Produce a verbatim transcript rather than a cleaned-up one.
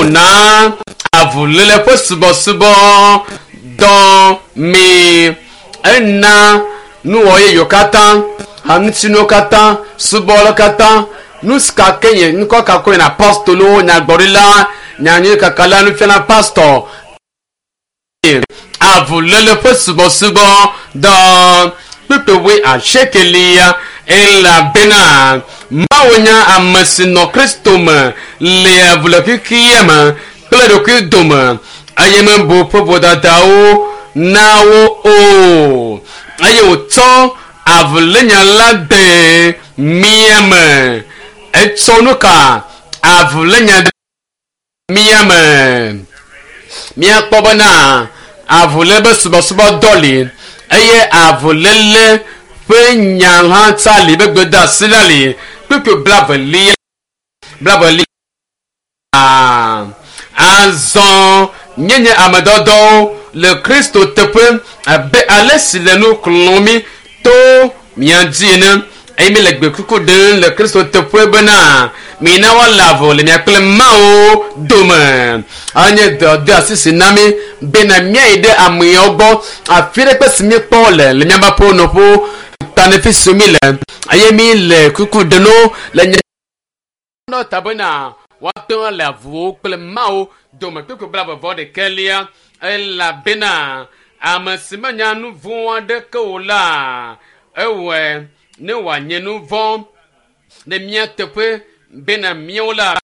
wòna avuléle ƒe subɔsubɔ dɔ mi. Ena nuwɔ yeyewo katã, haŋutinuwo katã, subɔlawo katã, nu si ka ke nye ŋkɔ ka koe na apostolowo, nyagblɔɖila, nyanyuikakala, nufiala, pastɔ, avuléle ƒe subɔsubɔ dɔ kpukpui asiekelia elabena Mawu nye ame si nɔ Kristo me le avu le xexea me kple ɖokui dome eye mebu ƒe vodadawo na wo o eye wòtsɔ avulénya la de mía me. Etsɔ nu ka avulénya de mía me. Míakpɔ bena avuléle be subɔsubɔdɔ li eye avuléle ƒe nya hã tsa li be gbedeasi la li kpukpui blavelia blavelia azɔ míenye ame dɔdɔwo le Kristo teƒe abe ale si le nu xlɔ̃m mí to mía dzi ene eye míele gbekuku ɖem le Kristo teƒe bena mina woale avu le mía kple Mawu dome. Anye dɔdeasi si na mí bena míayi ɖe ameawo gbɔ afi ɖe kpe si míekpɔ le le míaƒe aƒewo nɔƒewo ta fi si mí le eye mí le kuku ɖem wo le nye nɔ ta bena woate ŋu ale avuwo kple Mawu dome kpukpui blaeve ɖekɛlia elabena ame si menya nu vɔ̃ aɖeke o la ewɔe ne wòanye nu vɔ̃ ɖe mía teƒe bena míawo la